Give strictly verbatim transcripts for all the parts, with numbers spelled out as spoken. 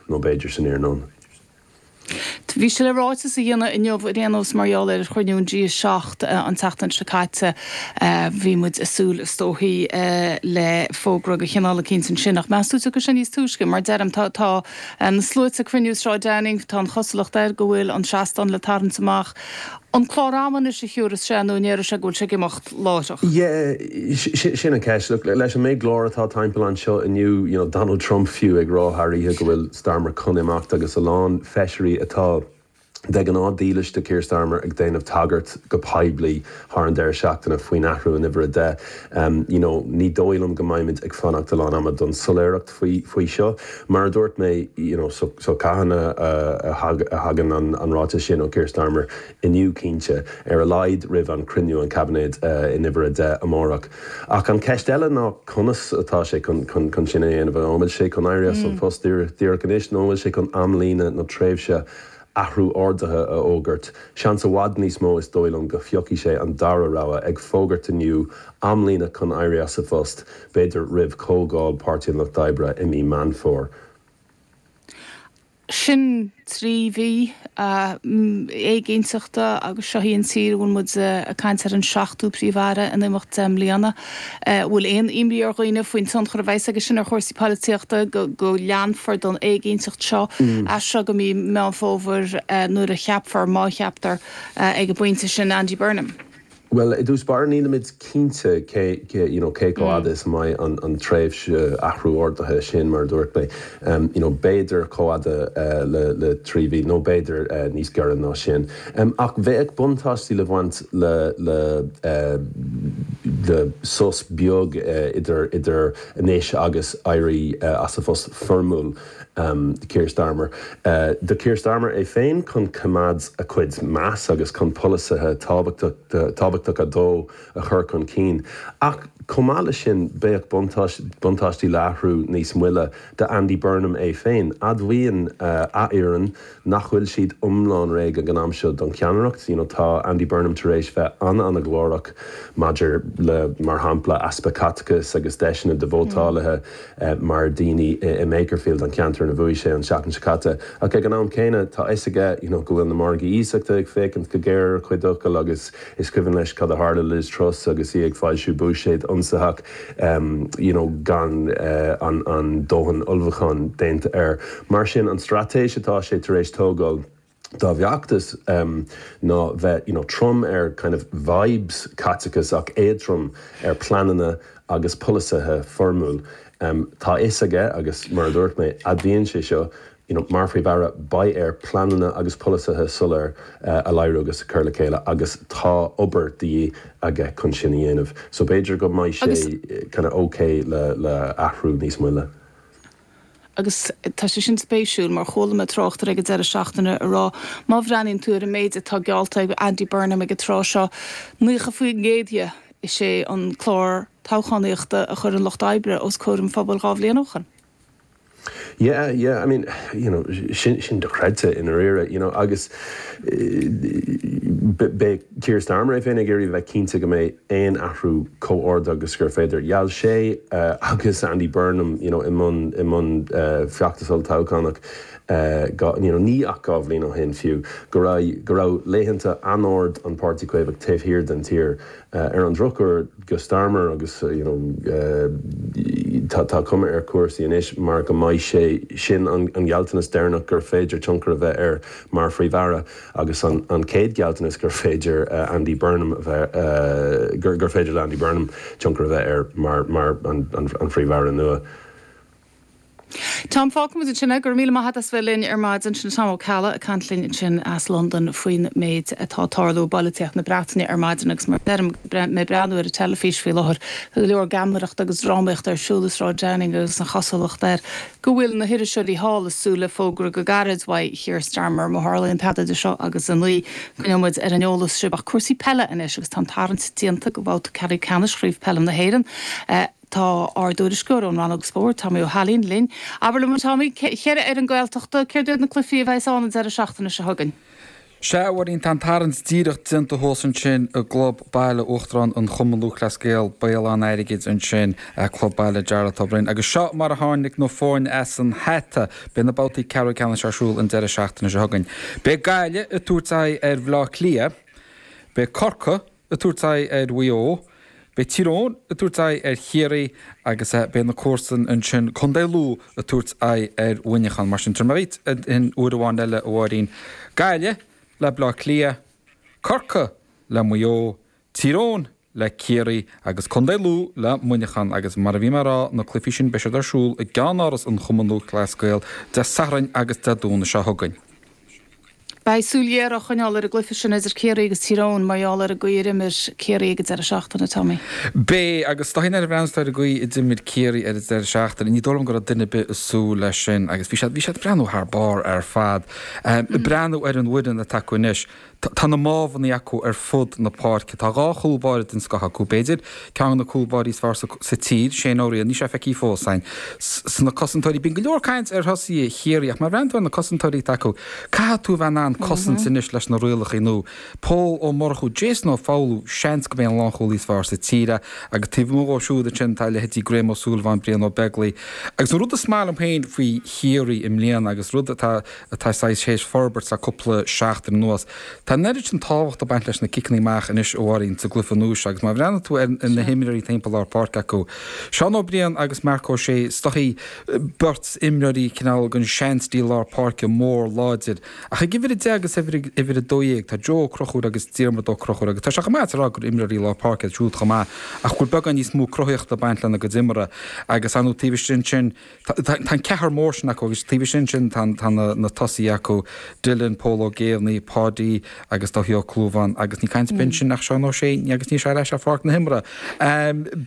nó b'fhéidir san iarnóin. Bhí sé le ráiteas a dhéanamh inniu ar aon nós mar gheall ar chruinniú an G seacht an tseachtain seo caite. Bhí muid ag súil is dóichí le fógra de chineál eicínt ansin ach meas tú tiocfaidh sé níos túisce mar deirim tá tá na sluaite ag cruinniú i Sráid Downing, tá an chosúlacht air go bhfuil an seastán le tarraingt amach. An clár ama anois a thiúrfas sé nó an ndéarfaidh sé go bhfuil sé ag imeacht láithreach? Yeah, sin an ceist. Look, leis an méid glór atá timpeall anseo inniu, you know, Donald Trump fiú ag rá thar oíche go bhfuil Starmer chun imeacht agus a lán feisirí atá de ghnáth dílis do Keir Starmer ag déanamh tagairt go poiblí thar an deireadh seachtaine faoin athrú in uimhir a deich. Um, you know, ní dóigh liom go mbeimid ag fanacht a lán ama don soiléireacht faoi, faoi seo. Mar a dúirt mé, you know, so, so cathain a, a, a thagann an, an ráiteas sin ó Keir Starmer inniu cinnte ar a laghad roimh an cruinniú an cabinet uh, in uimhir a deich amárach. Ach an ceist eile ná conas atá sé chun, chun, chun sin a dhéanamh an bhfuil sé chun éirí as an mm. phost díreach anois nó bhfuil sé chun amlíne nó tréimhse athrú orduithe a fhógairt. Seans i bhfad níos mó is dóigh liom go bpiocfaidh sé an dara rogha ag fógairt inniu amlíne chun éirí as a phost, b'fhéidir roimh chomhdháil Páirtí an Lucht Oibre i mí Meán Fómhair. Sin trí mhí éiginnteachta agus seo í an tír a bhfuil muid ag caint ar an seachtú príomh-aire in imeacht deich mbliana. Bhfuil aon imní ar dhaoine faoin tionchar a bheas aige sin ar chúrsaí polaitíochta go go leanfar don éiginnteacht seo as seo go mí Meán Fómhair nuair a cheapfar má cheaptar ag an bpointe sin Andy Burnham. Well, i dtús báire nílimid cinnte cé cé you know, cé chomh fada is a mbeidh an, an tréimhse athrú orduithe sin mar dúirt mé. Um, you know, b'fhéidir chomh fada uh, le, le trí mhí nó b'fhéidir uh, níos giorra ná sin. Um, ach bheadh buntáistí le bhaint le, le, uh, le sos beag uh, idir, idir anois agus éirí uh, as a phost foirmiúil um, Keir Starmer. Uh, do Keir Starmer é féin chun coimeád a chuid meas agus chun polasaithe tábhachtacha dó a chur chun cinn. Ach chomh maith leis sin bheadh buntáistí le hathrú níos moille do Andy Burnham é féin. Admhaíonn uh, a fhoireann nach bhfuil siad iomlán réidh ag an am seo don cheannaireacht. You know, tá Andy Burnham tar éis bheith an-an-ghlórach maidir le mar shampla easpa caiteachais agus deiseanna do vótálaithe mm. uh, mar daoine i, i Makerfield an ceantar ina bhuaigh sé an seachtain seo caite. Ach ag an am céanna tá fhios aige you know, go bhfuil na margaí iasachta ag féachaint go géar ar chuid fhocal agus is cuimhin leis cad a tharla Liz Truss agus í ag foilsiú buiséad ionsaitheach um, you know, gan uh, an, an dóthain ullmhúcháin déanta air. Mar sin an straitéis atá sé tar éis tógáil dá bhfeachtas um, ná bheith you know, trom ar kind of vibes caiteachas ach éadrom ar pleananna agus polasaithe foirmiúil. Um, tá fhios aige agus mar a dúirt mé admhaíonn sé seo you know, mar phríomh-aire beidh air pleananna agus polasaithe soiléir uh, a léiriú agus a chur le chéile agus tá obair de dhíth aige chun sin a dhéanamh. So b'fhéidir go mbeidh sé kind of okay le, le athrú níos moille. Agus tá sé sin spéisiúil mar chuala mé tráchtaire ag an deireadh seachtaine ag rá má bhreathnaíonn tú ar an méid atá geallta ag Andy Burnham ag an tráth seo nócha faoin gcéad de is é an clár toghchánaíochta a chuir an Lucht Oibre os comhair an phobail dhá bhliain ó shin. Yeah, yeah, I mean, you know, sin sin dochreidte i ndáiríre, you know, agus beidh Keir Starmer é féin ag iarraidh bheith cinnte go mbeidh aon athrú chomh hard agus gur féidir. Gheall sé uh, agus Andy Burnham, you know, i mbun i mbun uh, feachtas olltoghchánach uh, you know, ní ach dhá bhliain ó shin fiú go raibh go raibh laethanta an-ard an Páirtí Caomhach taobh thiar den tír uh, ar an drochuair do Starmer agus uh, you know, uh, tá tá cuma ar chúrsaí anois mar go mbeidh sé sin an, an gealltanas deireanach gur féidir tionchar a bheith air mar phríomh-aire agus an, an chéad ghealltanas gur féidir uh, Andy Burnham bheith uh, gur, gur féidir le Andy Burnham tionchar a bheith air mar, mar an, an, an phríomh-aire nua. Tom fágfaimid ansin go raibh míle maith agat as bheith linn ar maidin sin Tom Ó Ceallaigh ag caint linn ansin as Londain faoin méid atá ag tarlú i bpolaitíocht na Breataine ar maidin agus mar deirim mé breathnú ar an teilifís faoi láthair go leor geamaireacht agus drámaíocht ar siúl i Sráid Downing agus an chosúlacht air go bhfuil na hiriseoirí thall ag súil le fógra go gairid uaidh Keir Starmer má tharlaíonn tada de seo agus an ní coinneoidh muid ar an eolas sibh ach cúrsaí peile anois agus tá an tarraingt déanta do bhabhta ceathrú ceannais Chraobh Peile na hÉireann. Uh, Tá ár dtuairisceoir ón rannóg spóirt Tommy Ó hAilín linn. Abair liom Tommy ceithre fhoireann Gaeltachta céard iad na cluichí a bheas ann an deireadh seachtaine seo chugainn. Sea, a Mháirín, tá an tarraingt díreach déanta thuas ansin i gClub Baile Uachtarán an Chumainn Lúthchleas Gael, Béal Átha an Airgid ansin, Club Baile Jarlath Ó Broin. Agus seo mar a tháinig na foirne as an hata. Beidh na babhtaí ceathrú ceannais ar siúl an deireadh seachtaine seo chugainn. Beidh Gaillimh ag tabhairt aghaidh ar Bhaile Átha Cliath, beidh Corcaigh ag tabhairt aghaidh ar Mhaigh Eo, Beidh Tír Eoghain ag tabhairt aghaidh ar Chiarraí agus beidh na comharsain ansin, Contae Lú, ag tabhairt aghaidh ar Mhuineachán. Mar sin, tabharfaidh mé dhuit aon uair amháin eile, a Mháirín. Gaillimh le Baile Átha Cliath, Corcaigh le Maigh Eo, Tír Eoghain le Ciarraí agus Contae Lú le Muineachán. Agus mar a bhí mé ag rá, na cluichí sin, beidh siad ar siúl i gceannáras an Chumainn Lúthchleas Gael Dé Sathairn agus Dé Domhnaigh seo chugainn. Beidh súil ghéar á choinneáil ar an gcluiche sin idir Ciarraí agus Tír Eoghain mar gheall ar an gcaoi ar imir Ciarraí ag an deireadh seachtaine, Tommy. Beidh, agus dóigh ar bhreathnaigh tú ar an gcaoi a d'imir Ciarraí ar an deireadh seachtaine, ní dóigh liom go raibh duine ar bith ag súil leis sin agus bhí siad, bhí siad ag breathnú thar barr ar fad. Ag breathnú ar an bhfoireann atá acu anois, tá na mámhanna acu ar fud na páirce. Tá dhá chúl báire den scoth acu, b'fhéidir, ceann de na cúl báirí is fearr sa tír, Shane Ó Riain, níl sé feicthe fós againn. Sna cosantóirí, bíonn go leor caint ar thosaithe Chiarraí ach má bhreathnaíonn tú ar na cosantóirí atá acu, caithfidh tú a bheith in ann cosaint anois leis na rialacha nua. Pól Ó Murchú, Jason Ó Foghlú, seans gurb é an lánchúlaí is fearr sa tír é agus taobh amuigh dhó siúd ansin tá leithéidí Graham Ó Súilleabháin, Brian Ó Beaglaoi. Agus an rud is maith liom féin faoi Chiarraí i mbliana agus rud atá atá saghas théis forbairt le cúpla seachtain anuas, tá an oiread sin tábhacht ag baint leis na ciceanna amach anois a Mháirín sa gcluiche nua seo agus má bhreathnaíonn tú ar na himreoirí timpeall lár páirce acu, Seán Ó Briain agus Marc Ó Sé, is dóichí beirt imreoirí cineál den seanstíl lár páirce, mór, láidir. Ach ag uimhir a deich agus uimhir a dó dhéag tá Joe Ó Conchúir agus Diarmuid Ó Conchúir agus tá sé chomh maith a rá gur imreoirí lár páirce iad siúd chomh maith ach go bhfuil beagán níos mó cruthaíochta ag baint lena gcuid imeartha agus ar ndóigh taobh istigh ansin tá an ceathrar mór sin acu agus taobh istigh ansin tá na tosaithe acu, Dylan, Pól Ó Géibheannaigh, Páidí agus Dáithí Ó Clúmháin agus ní caint ar bith ansin ach Seán Ó Sé agus níl sé ar ais ar pháirc na himeartha.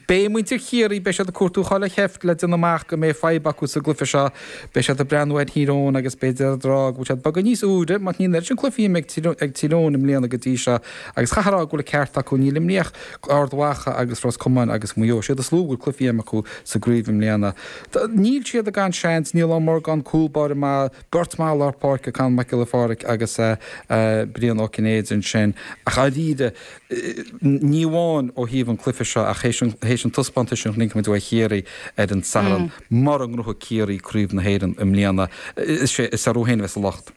Beidh muintir Chiarraí, beidh siad ag cuartú chuile sheift le déanamh amach go mbeidh fadhb acu sa gcluiche seo. Beidh siad ag breathnú ar Thír Eoghain agus b'fhéidir ag rá go bhfuil siad beagán níos úire mar níl an oiread sin cluichí imeartha ag Tír Eoghain i mbliana go dtí seo agus chaithfeá a rá go bhfuil an ceart acu, níl imríodh Ard Mhacha agus Ros Comáin agus Maigh Eo, siad is lú a bhfuil cluichí imeartha acu sa gcraobh i mbliana. Níl siad gan seans, Niall Ó Morgáin, cúl báire maith, beirt mhaith lár páirce, Conall Mac Giolla Phádraig agus Brian Ó Cinnéide ansin ach dháiríre, ní amháin ó thaobh an cluiche seo ach théis an taispeántais sin a chonaic muid ó Chiarraí ar an Satharn, mura ngnóthaíonn Ciarraí Craobh na hÉireann i mbliana, is orthu féin a bheas an locht.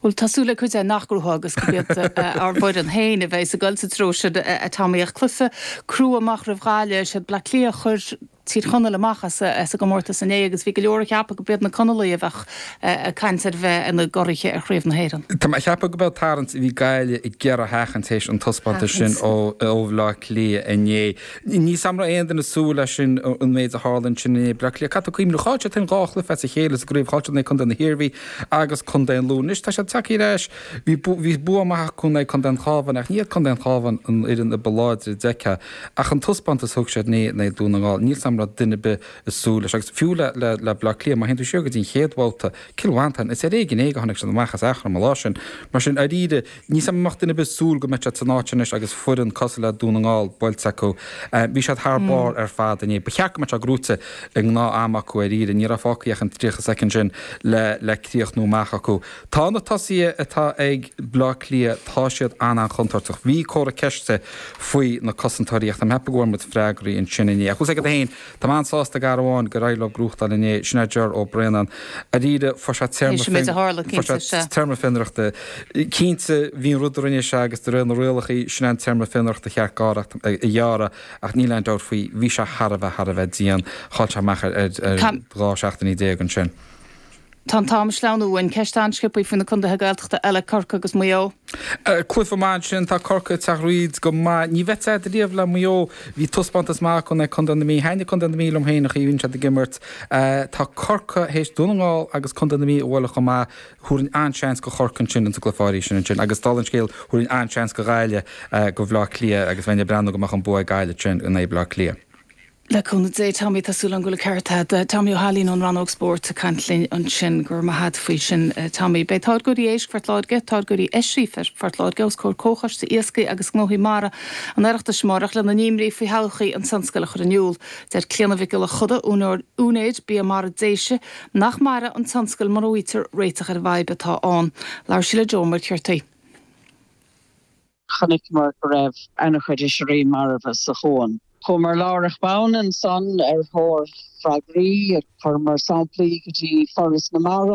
Bhuel, tá súil ag cuid againn nach ngnóthóidh agus gurb iad ár bhfoireann féin a bheidh ag dul sa treo sin, a Tommy. Ach cluiche crua amach roimh Ghaillimh, is iad Bleá Cliath a chuir Tír Chonaill amach as an gcomórtas inné agus bhí go leor a cheapadh gurb iad na Conallaigh a bheadh ag caint ar bheith ina gcuraithe ar Chraobh na hÉireann. Tá mé ag ceapadh go b'é an tarraingt a bhí Gaillimh ag iarraidh a sheachaint théis an taispeántais sin ó Bhleá Cliath inné. Ní an raibh aon duine ag súil leis sin an méid a tharla ansin inné. Bleá Cliath, caithfidh tú cuimhneamh, chaill siad féin dhá chluiche as a chéile sa gcraobh, chaill siad in aghaidh Contae na hIarmhí agus Contae an Lú. Anois tá siad tagtha ar ais, bhí bhí bua maith acu in aghaidh Contae an Chabháin ach ní hiad Contae an Chabháin an fhoireann a ba láidre a d'fheicfeá. Ach an taispeántas a thug siad inné in aghaidh Dún na nGall, níl 's a'm an raibh duine ar bith ag súil leis. Agus fiú le le Bleá Cliath, má théann tú siar go dtí an chéad bhabhta, Cill Mhantáin, is ar éigean é go tháinig siad amach as Eachroim an lá sin. Mar sin, dáiríre, níl 's a'm an mbeadh duine ar bith ag súil go mbeadh siad san áit anois agus foireann cosúil le Dún na nGall buailte acu. Bhí siad thar barr ar fad inné. Ba cheart go mbeadh sé gnóite i ngnáth am acu dáiríre. Ní raibh fágtha ach an tríocha soicind sin le le críochnú amach acu. Tá na tosaithe atá ag Bleá Cliath, tá siad an-an-chontúirteach. Bhí comhartha ceiste faoi na cosantóirí ach tá mé ag ceapadh go bhfuair muid freagraí ansin inné. Ach bhfuil 's agat féin, tá mé an-sásta gar amháin gur éirigh leo gnóthachtáil inné, sin é Ger Ó Braonáin. Dáiríre, fuair sé téarma Théis an méid a tharla, fuair cinnte, sé sea. téarma fionraíochta. Cinnte, bhí an rud a rinne sé agus de réir na rialacha, sin é an téarma fionraíochta cheart gearradh a ghearradh ach níl aon dabht faoi, bhí sé thar a bheith, thar a bheith dian. Chaill sé amach ar ar Tá. dhá seachtainí déag ansin. Tá an t-am ag sleamhnú uainn. Ceist an-sciobtha faoi na contaetha Gaeltachta eile, Corcaigh agus Maigh Eo. Cluiche maith ansin. Tá Corcaigh ag teacht thríd go maith. Ní bheadh fhios agat riamh le Maigh Eo. Bhí taispeántas maith acu in aghaidh Contae na Mí. Thaitnigh Contae na Mí liom féin an chaoi a bhíonn siad ag imirt. Tá Corcaigh théis Dún na nGall agus Contae na Mí a bhualadh chomh maith. Thabharfainn an-seans go Chorcaigh ansin ins an gcluiche áirithe sin ansin. Agus dála an scéil, thabharfainn an-seans go Ghaillimh, go Bhleá Cliath agus bheinn ag breathnú go mbeadh an bua ag Gaillimh ansin in aghaidh Bleá Cliath. Le cúnamh Dé Tommy tá súil agam go bhfuil an ceart agat. Tommy Ó hAilín ón rannóg spóirt ag caint linn ansin go raibh maith agat faoi sin Tommy. Beidh táirgeoirí éisc Phort Láirge, táirgeoirí oisrí Phort Láirge os comhair Comhchoiste Iascaigh agus Gnóthaí Mara an Oireachtais amárach lena n-imní faoi thodhchaí an tionscail a chur in iúl. Deir Clíona Mhic Giolla Chuda, úinéir Bia Mara Déise, nach mairfidh an tionscal mura bhfaightear réiteach ar an bhfadhb atá ann. Labhair sí le Joe Muircheartaigh. Chonaiceamar go raibh an-chuid oisrí marbh sa chuan. Chuamar láithreach bonn ansan ar thóir freagraí, chuireamar samplaí go dtí Foras na Mara.